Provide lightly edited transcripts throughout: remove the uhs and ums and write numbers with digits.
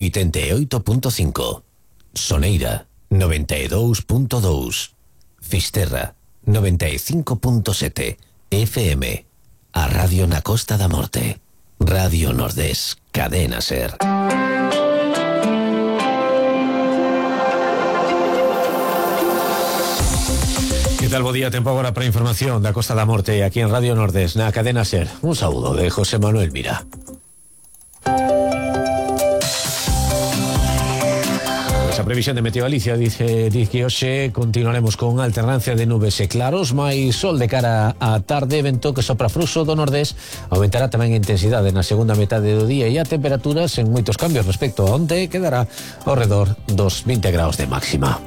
88.5, Soneira 92.2, Fisterra 95.7 FM, a Radio na Costa da Morte, Radio Nordés, Cadena Ser. Que tal, bo día, tempo agora para información da Costa da Morte aquí en Radio Nordés, na Cadena Ser. Un saúdo de José Manuel Mira. A previsión de Meteo Galicia dice que hoxe continuaremos con alternancia de nubes e claros, máis sol de cara á tarde, vento que sopra fluxo do nordés, aumentará tamén a intensidade na segunda metade do día e a temperaturas en moitos cambios respecto a onte quedará ao redor dos 20 graus de máxima.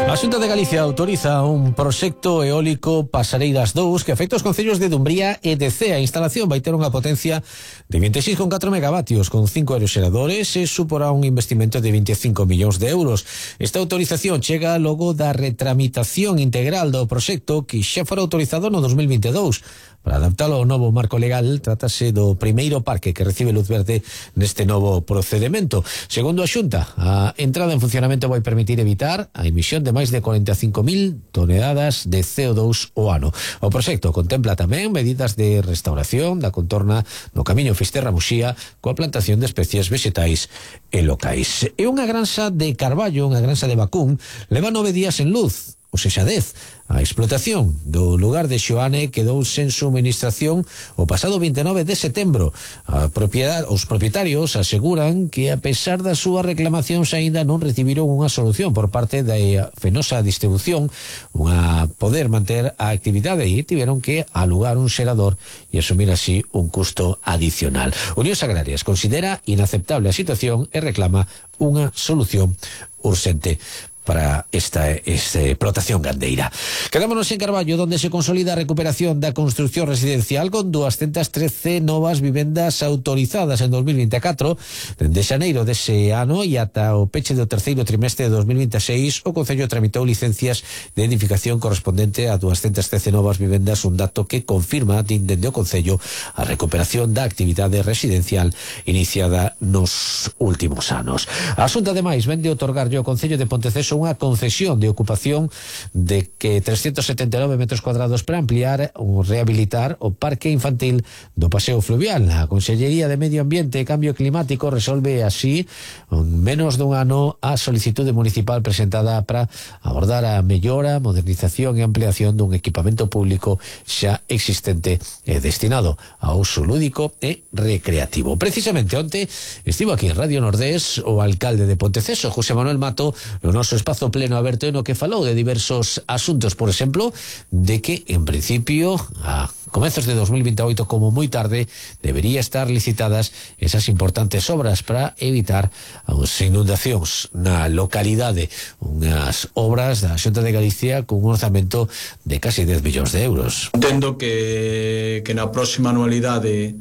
A Xunta de Galicia autoriza un proxecto eólico Pasareiras 2 que afecta os concellos de Dumbría e de Cea. A instalación vai ter unha potencia de 26,4 megavatios con 5 aeroxeradores e suporá un investimento de 25 millóns de euros. Esta autorización chega logo da retramitación integral do proxecto que xa fora autorizado no 2022. Para adaptalo ao novo marco legal, trátase do primeiro parque que recibe luz verde neste novo procedimento. Segundo a Xunta, a entrada en funcionamento vai permitir evitar a emisión de máis de 45.000 toneladas de CO2 ao ano. O proxecto contempla tamén medidas de restauración da contorna no camiño Fisterra-Muxía coa plantación de especies vegetais e locais. E unha granxa de Carballo, unha granxa de Bacún, leva 9 días en luz, ou sexa 10. A explotación do lugar de Xoane quedou sen suministración o pasado 29 de setembro. Os propietarios aseguran que a pesar das súas reclamacións aínda non recibiron unha solución por parte da Fenosa Distribución unha poder manter a actividade e tiveron que alugar un xerador e asumir así un custo adicional. Unións Agrarias considera inaceptable a situación e reclama unha solución urxente para esta explotación gandeira. Quedámonos en Carballo, donde se consolida a recuperación da construcción residencial con 213 novas vivendas autorizadas en 2024. Dende xaneiro dese ano e ata o peche do terceiro trimestre de 2026, o Concello tramitou licencias de edificación correspondente a 213 novas vivendas, un dato que confirma dende o Concello a recuperación da actividade residencial iniciada nos últimos anos. A Xunta, ademais, vende otorgarlle ao Concello de Ponteceso unha concesión de ocupación de que 379 metros cuadrados para ampliar ou rehabilitar o parque infantil do Paseo Fluvial. A Consellería de Medio Ambiente e Cambio Climático resolve así en menos dun ano a solicitude municipal presentada para abordar a mellora, modernización e ampliación dun equipamento público xa existente e destinado a uso lúdico e recreativo. Precisamente onte estivo aquí en Radio Nordés o alcalde de Ponteceso, José Manuel Mato, no noso espazo pleno aberto no que falou de diversos asuntos, por exemplo, de que en principio a comezos de 2028 como moi tarde debería estar licitadas esas importantes obras para evitar as inundacións na localidade, unhas obras da Xunta de Galicia con un orzamento de casi 10 millóns de euros. Entendo que na próxima anualidade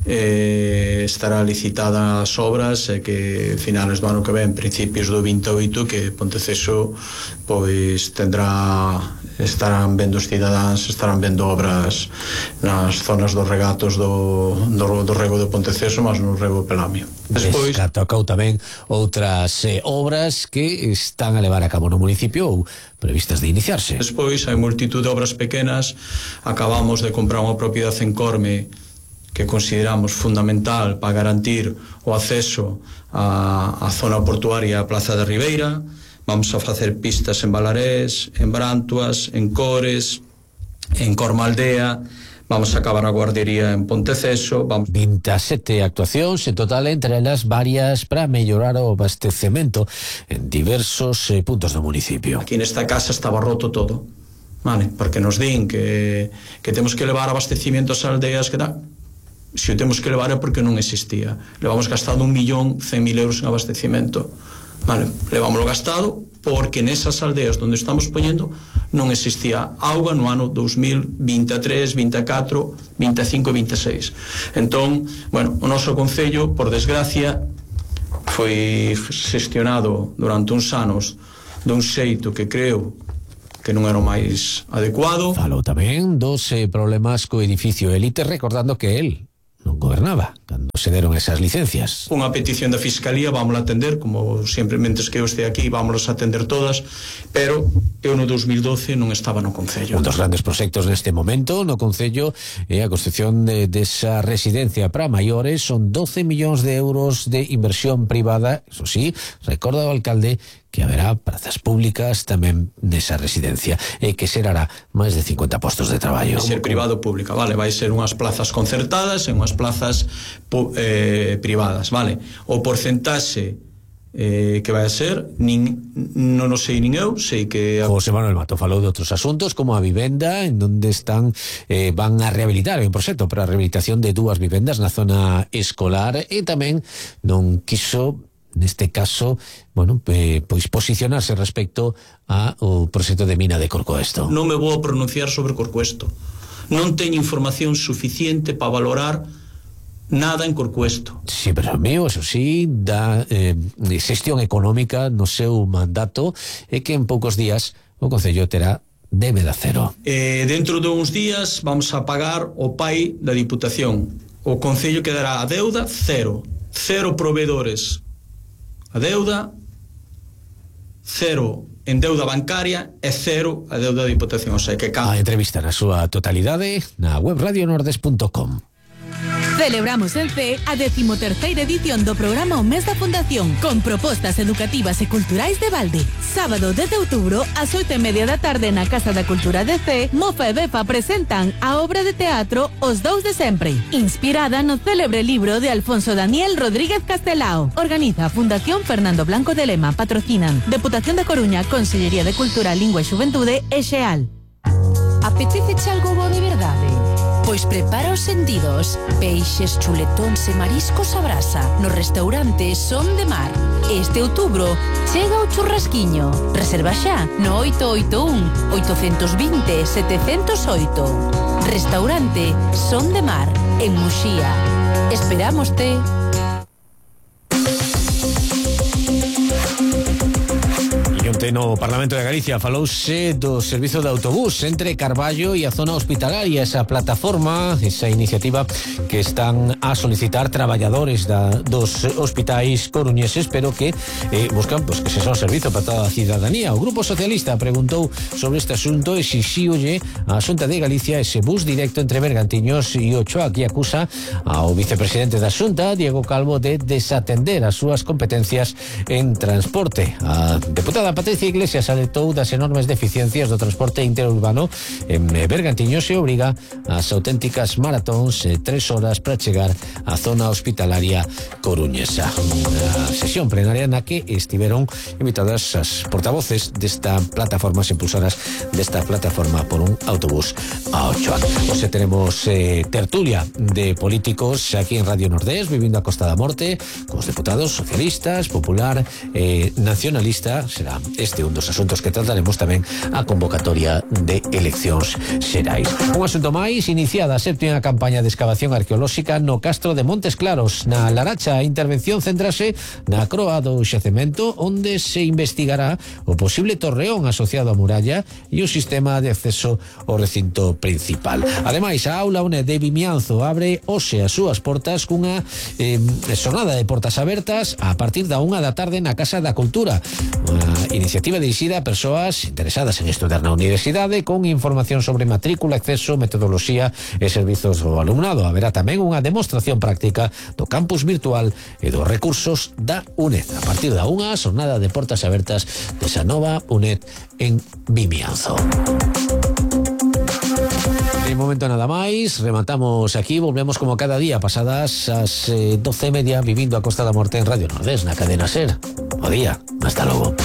estará licitada as obras e que finales do ano que ven, principios do 28, que Ponteceso pois estarán vendo os cidadáns, estarán vendo obras nas zonas dos regatos do rego de Ponteceso, mas no rego Pelamio. Despois tocou tamén outras obras que están a levar a cabo no municipio ou previstas de iniciarse. Despois hai multitud de obras pequenas. Acabamos de comprar unha propiedade en Corme que consideramos fundamental para garantir o acceso á zona portuaria, a Plaza de Ribeira. Vamos a facer pistas en Balarés, en Brantuas, en Cores, en Cormaldea. Vamos a acabar a guardería en Ponteceso. 27 actuacións en total, entre elas varias para mellorar o abastecemento en diversos puntos do municipio. Aquí nesta casa estaba roto todo, vale? Porque nos din que temos que levar abastecimiento ás aldeas que tal. Se o temos que levar é porque non existía. Levamos gastado 1.100.000 euros en abastecimento. Vale, levámoslo gastado porque nesas aldeas onde estamos poñendo non existía auga no ano 2023, 24, 25 e 26. Entón, bueno, o noso concello, por desgracia, foi xestionado durante uns anos dun xeito que creo que non era o máis adecuado. Falou tamén dos problemas co edificio Élite, recordando que el non gobernaba cando se deron esas licencias. Unha petición da Fiscalía vamos a atender, como sempre, mentes que eu este aquí, vamos a atender todas, pero eu no 2012 non estaba no Concello. Un dos grandes proxectos neste momento no Concello é a construción desa residencia para maiores. Son 12 millóns de euros de inversión privada. Eso sí, recorda o alcalde que haberá prazas públicas tamén nesa residencia e que será máis de 50 postos de traballo. Vai ser privado pública, vale? Vai ser unhas plazas concertadas e unhas plazas privadas, vale? O porcentaxe que vai a ser non o sei nin eu, sei que José Manuel Mato falou de outros asuntos como a vivenda, en donde están van a rehabilitar un proxecto para a rehabilitación de 2 vivendas na zona escolar, e tamén non quiso neste caso, bueno, pois posicionarse respecto ao proxecto de mina de Corcoesto. Non me vou a pronunciar sobre Corcoesto. Non teño información suficiente para valorar nada en Corcoesto. Sí, pero mío, eso sí, da xestión económica no seu mandato, e que en poucos días o Concello terá débeda cero. Dentro de uns días vamos a pagar o pai da Diputación. O Concello quedará a deuda cero. Cero proveedores a deuda, cero en deuda bancaria e cero a deuda da Diputación. O sea, que a entrevista na súa totalidade na web radionordes.com. Celebramos en CEE a 13ª edición do programa O Mes da Fundación, con propostas educativas e culturais de balde. Sábado 10 de outubro, ás 8:30 da tarde na Casa da Cultura de CEE, Mofa e Befa presentan a obra de teatro Os Dous de Sempre, inspirada no célebre libro de Alfonso Daniel Rodríguez Castelao. Organiza a Fundación Fernando Blanco de Lema. Patrocinan Deputación da Coruña, Consellería de Cultura, Lingua e Xuventude e XEAL. Apetece algo bo de verdade? Pois prepara os sentidos. Peixes, chuletóns e mariscos a brasa no restaurante Son de Mar. Este outubro chega o churrasquiño. Reserva xa no 881 820 708. Restaurante Son de Mar en Muxía. Esperámoste. No Parlamento de Galicia falouse do servizo de autobús entre Carballo e a zona hospitalaria, esa plataforma, esa iniciativa que están a solicitar traballadores dos hospitais coruñeses, pero que buscan que se son servizo para toda a cidadanía. O Grupo Socialista preguntou sobre este asunto e exixíolle a Xunta de Galicia ese bus directo entre Bergantiños e Ochoa, que acusa ao vicepresidente da Xunta, Diego Calvo, de desatender as súas competencias en transporte. A deputada Patricia Iglesias alertou das enormes deficiencias do transporte interurbano en Bergantiños e obriga ás auténticas maratóns 3 horas para chegar á zona hospitalaria coruñesa. Unha sesión plenaria na que estiveron invitadas as portavoces desta plataforma, as impulsoras desta plataforma por un autobús a Ochoa. Hoxe tenemos tertulia de políticos aquí en Radio Nordés, vivindo a Costa da Morte, cos deputados socialistas, popular e nacionalista. Será este un dos asuntos que trataremos, tamén a convocatoria de eleccións xerais. Un asunto máis, iniciada a 7ª campaña de excavación arqueolóxica no Castro de Montes Claros. Na Laracha, a intervención centrase na croa do xacemento, onde se investigará o posible torreón asociado á muralla e o sistema de acceso ao recinto principal. Ademais, a aula UNED de Vimianzo abre hoxe as súas portas cunha xornada de portas abertas a partir da 1 da tarde na Casa da Cultura. Unha iniciativa dirixida a persoas interesadas en estudar na universidade, con información sobre matrícula, acceso, metodoloxía e servizos ao alumnado. Haberá tamén unha demostración práctica do campus virtual e dos recursos da UNED. A partir da 1, xornada de portas abertas desa nova UNED en Vimianzo. De momento nada máis, rematamos aquí, volvemos como cada día pasadas as 12:30, vivindo a Costa da Morte en Radio Nordés, na cadena SER. Bo día, hasta logo.